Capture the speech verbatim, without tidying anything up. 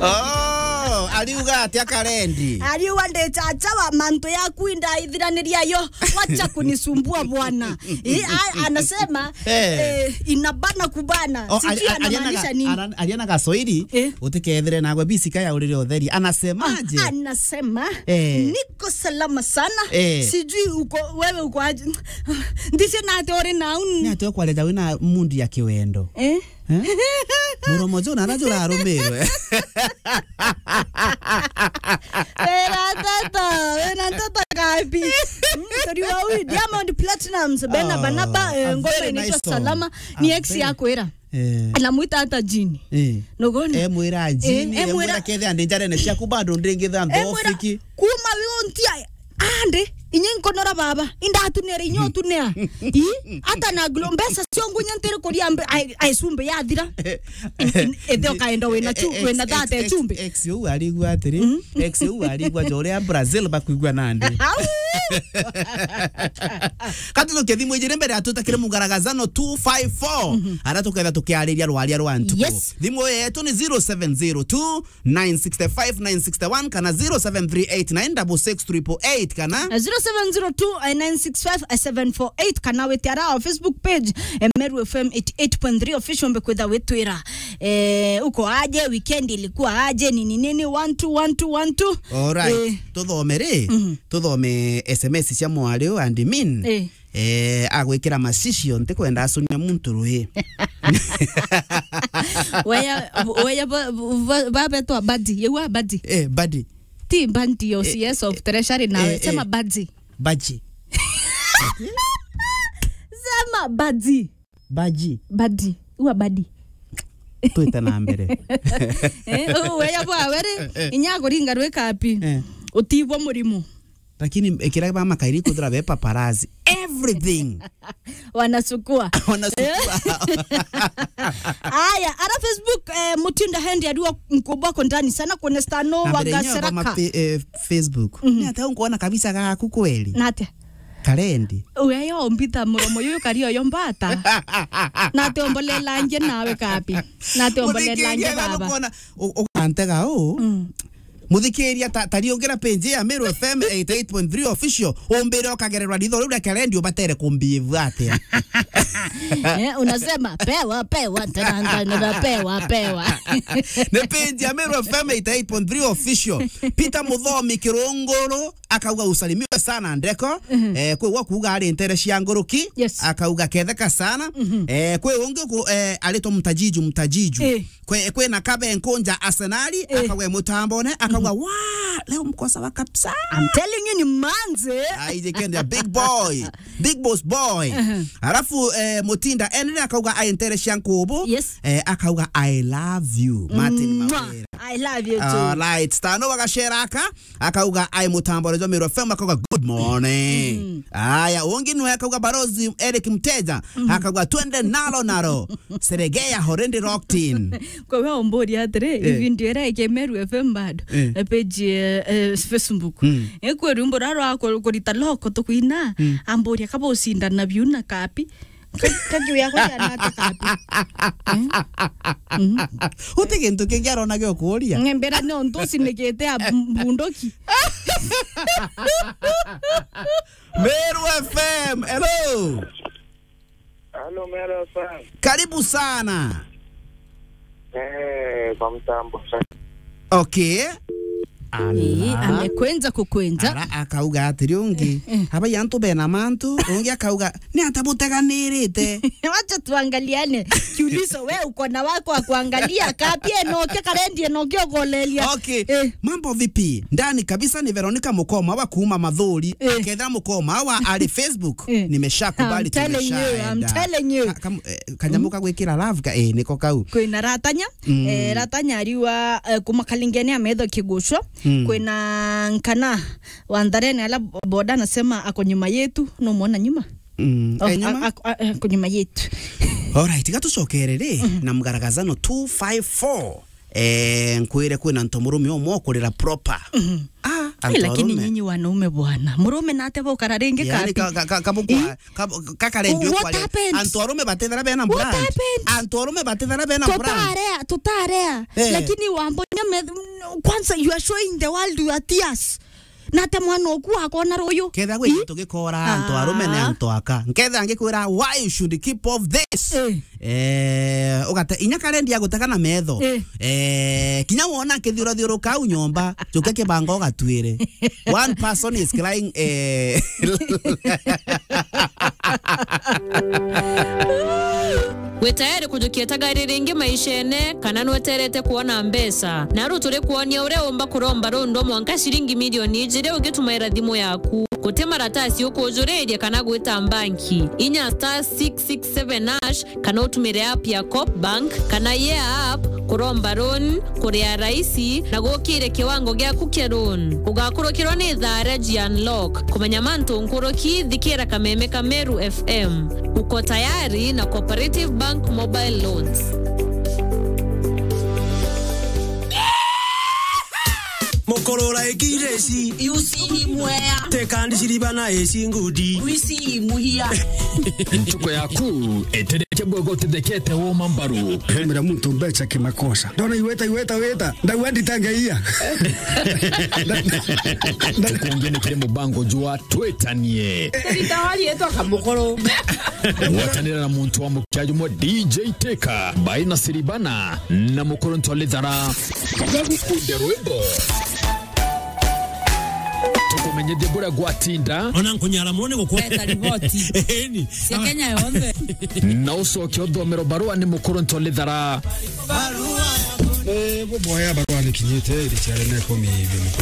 Oh, aliuga atia Karendi? Aliuga, "Ndi chacha wa mantu yaku indaithiraniria yo. Wacha kunisumbua bwana." Eh, a-, anasema, Eh. eh, inabana kubana. Oh, sijui ali-, ali-, anamaanisha aliana ga-, nini. Ana-, aliana Gasoiri, Eh. utikethire nagwe bisika ya urire utheri. Anasemaje? Ah, anasema, Eh. "Niko salama sana." Eh. Sijui uko, wewe uko aje. Ndisi na ati uri na un- Ni ati ukwareja wina mundi ya kiwendo. Eh? Eh? Muromo jo na rajo rarumirwe. Wena ntoto, wena ntoto kapi. Mm, turi wa huyu Diamond Platnumz, Bena Oh, Banaba, eh, a ngoma very inaitwa nice song. Salama. A Ni ex very yakwira. Eh. Anamwita hata Jini. Eh. Nugoni? Emwira Jini, Eh, emwira emwira kethe andi njarene ciaku bado ndingitha Eh, mwira, nthofiki. kuma wi untia, ande, inye nkonora baba, indatunere inyo tunea. I, hata na glo-, mbeca cio ngunya ntiri kuria mbe-, ai, ai cumbi yathira. Ithe ukaenda wina chu-, Eh, eh, wina ex, thate ex, chumbi. Ex uu arigua atiri, Mm. ex uu arigua jo uria Brazil bakwigua nandi. Au! Katutuke thimu ijiri mbere atutakire mugaragazano two five four. Mhm. Ara tuketha tukiariria rwaria rwa ntuku. Yes. Thimu yetu ni zero seven zero two, nine six five, nine six one kana zero seven three eight nine six six triple eight kana Na zero seven zero two, nine six five, seven four eight kana wite ara our Facebook page, eh, Meru F M eighty eight point three official, mbe kwitha witwira, eh, uko aje, weekend ilikuwa aje, nini nini, one two one two one two. Alright. Eh. Tuthome ri, Mhm. tuthome S M S cia mwari uyu and min. Eh. Eh, agwikira macicio, ntikwenda acunia muntu ruhi. Weya, weya ba, ba, ba betwa Badi, yewa Badi. Eh, Badi. Ti Badi, o Eh, C S of Treasury nawe, eh, sema eh. Badi. Baji. Sema Badi. Baji. Badi. Uwa Badi. Twite na mbere. Eh, u-, weya bwa were, inya kuringa rwika api. Eh. Utibwo murimu. Lakini ikira ba makairi kuthira be paparazzi. Everything. Wanasukua. Wanasukua. Aya, ara Facebook, eh, Mutinda Hendi ariwa nkubwa ko ndani sana, kuna Stano Na wa mbere yenyewe kwa Gaseraka. mape-, eh, Facebook. Mhm. Ni ata unkuona kabisa gaku kweli? Na atia? Karendi. Uya yo mbita muromo yuyu kario yo mbata. Na ati ombolela nje nawe kapi. Na ati ombolela nje Muthikiria baba. nukuona, u-, ukantega u. Mm. Muthikiria ta, ta riungira page ya Meru F M eighty eight point three official, umbire ukagererwa ritho riu ria Karendi ubatere kumbihave atia? Eh, unasema, "Pewa, pewa, tena ngani na pewa, pewa." Ni page ya Meru F M eighty eight point three official. Peter Muthomi Kirunguru akauga, "Usalimiwe sana Ndeko." Mhm. Eh, kwi wa kuuga ari ntere cia nguruki. Yes. Akauga, "Ketheka sana." Mhm. Eh, kwi ungi ku-, eh, aritwa Mtajiju, Mtajiju. Eh. Kwi, kwina Kabe Nkunja Arsenali, Eh. akauga mutambone, akauga, Mhm. "Wa, leo mko sawa kabisa." I'm telling you, ni manze. Ai, jikenda big boy, big boss boy. Mhm. Alafu, eh, Mutinda Henry akauga, "Ai ntere cia nkubu." Yes. Eh, akauga, "I love you, Martin Mwah. Mawira." I love you too. Alright, Stano wa Gaseraka, akauga, "Ai mutambo wa Meru F M," akauga, "Good morning." Mhm. Aya, ungi nwe akauga, Barozi Eric Mteja, Mhm. akauga, "Twende nalo nalo." Seregea already locked in. Kwa we omboria atiri, Eh. video ira ike Meru F M bado, Eh. eh, page, eh, eh, Facebook. Mm. Eh, kwe rwimbo rwa rwa ku-, kurita loko tukwina, Mm. amboria kaba ucindana biu na kapi. Ka-, kakiu yakwa yana ata kapi? Eh? Mhm. Uti gintu kingi arona gio kuria. Ng'embera ni untu ucinikite a mbunduki. Meru F M, hello. Hello, Meru F M. Karibu sana. Eh, kwa mtambo. Okay. Ala. Ii, amekwenja kukwenja. Ara akauga atiri ungi, Eh, eh. "Abai antu bena mantu," ungi akauga, "Ni ata buteganirite?" Wacha tuangaliane. Kiulizo, we uko na wako wa kuangalia, kapie noke karendie noke ugolelia. Okay. Eh. Mambo vipi? Ndani kabisa ni Veronica Mukoma wa kuuma Mathuri. Eh. Ketha Mukoma wa ari Facebook. Eh. Nimeshakubali, I'm telling you, I'm tumeshaenda. Telling you. Ka-, kam-, eh, kanyamu Mm. ka gwikira love ka, eh, niko kau. Kwina Ratanya, Mm. eh, Ratanya ariwa, eh, kuma Kalingeni ametho kigucwa. Mm. Kwina Nkana wa Ntharene ala boda anasema ako nyuma yetu, no mwona nyuma? Mm. Oh, eh, nyuma? A-, a-, a-, ako nyuma yetu. Alright, gatucokere ri, Mhm. na mgaragazano two five four. Eh, nkwire kwina ntomurume umwe ukurira proper. Mhm. Ah, Antu lakini arume. Nyinyi wanaume bwana, murume nate bukara ringi. Yaani kapi? Ka, ka, ka, kabukwa, eh? Kab-, kakarendio. What kwa happened? Antu arume batithara bena brand. What happened? Antu arume batithara bena brand. Tutarea, tutarea. Eh. Lakini wambo nyame, kwanza you are showing the world your tears. Nate mwana oku akona ruyu. Ketha gwi. Ih? Tugikora antu arume ni. Ah. Antu aka. Nketha ngikwira, why you should keep off this? Eh. Eh, ugate, inya karendi agutega na metho. Eh. Eh, kinya wona akithiurathiuruka au nyomba, juke kibanga ugatwire. One person is crying, eh. Wi tayari kujukia tagari ringi maishene, kana nweterete kwona mbeca? Naru turi kwonia uria umba kuromba rundwa mwanka ciringi milioni ijiri ugitumaira thimu yaku. Guti maratasi ukujuriria kana gwita mbanki. Inya star six six seven hash kana utumire app ya Coop Bank kana Yeah app kuromba loan, kuria raisi na gukire kiwango giaku kia loan. Ugakurukirwa ni thaa ria G Unlock. Kumenya mantu nkuruki, thikira kameme ka Meru F M. Uko tayari na Cooperative Bank Mobile Loans. Mukurura ikireci. Yusi mwea. Tekandi ciribana eci ngudi. Wisi muhia. Ntuku yaku itereke bwego utithekete woma mbaru. Hemera muntu mbeca kimakosa. Ndona iweta, iweta, weta. Ndauga nditangeia. Tukungi ni kiri mubango jwa twitanie. Ritawari etwa Kamukoro. Gwatanira na muntu wa mukia jumwe D J Teka, Baina Siribana, na Mukuru Ntwalithara. Gagukunde rwimbo. Tukumenyithie buria gwatinda. Ona nkunyara mono ni gukwa. Eta riboti. Eni. Cia Kenya yonthe. Na ucoke uthomero barua ni Mukuru Ntwalithara. Eh, buboya barua ni kinyite, iri ciare ne komi hivi mukuru.